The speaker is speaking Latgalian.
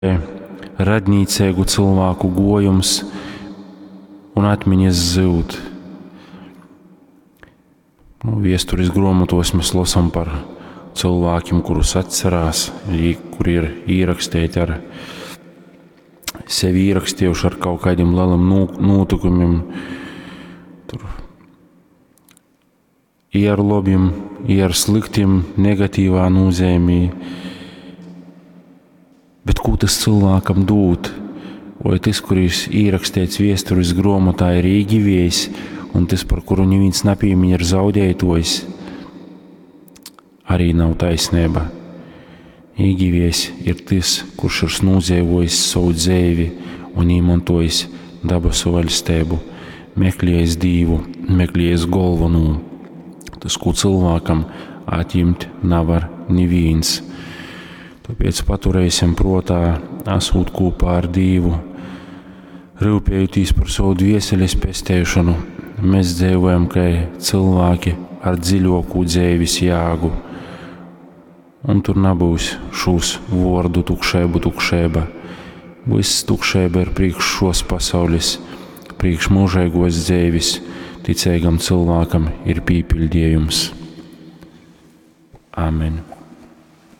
Radnīceigu cylvāku guojums un atmiņas zyud. Nu, viesturis gruomotuos mēs losam par cilvēkiem, kurus atcerās, kuri ir īrakstīti ar sevi īrakstījuši ar kaut kādiem lieliem notikumiem. Tur i ar labiem, i ar sliktiem, negatīvā nozīmē. Bet ko tas cilvēkam dod? Vai tas, kuris ierakstīts viesturis grāmatā, ir īgivējs, un tas, par kuru neviens nepīmiņ, ir zaudētojs, arī nav taisnība. Īgivējs ir tas, kurš ir nodzīvojis savu dzīvi un īmantojis dabasu vaļstību, meklējis Dīvu, meklējis galveno. Tas, ko cilvēkam atņemt nevar neviens. Tāpēc paturēsim prātā, esot kopā ar Dievu, rūpējoties par savu dvēseles pestēšanu, mēs dzīvojam kā cilvēki ar dziļāku dzīves jēgu. Un tur nebūs šūs vārdu tukšību, tukšība. Viss tukšība ir priekš šos pasaules, priekš mūžīgos dzīves, ticīgam cilvēkam ir pīpildījums. Amen.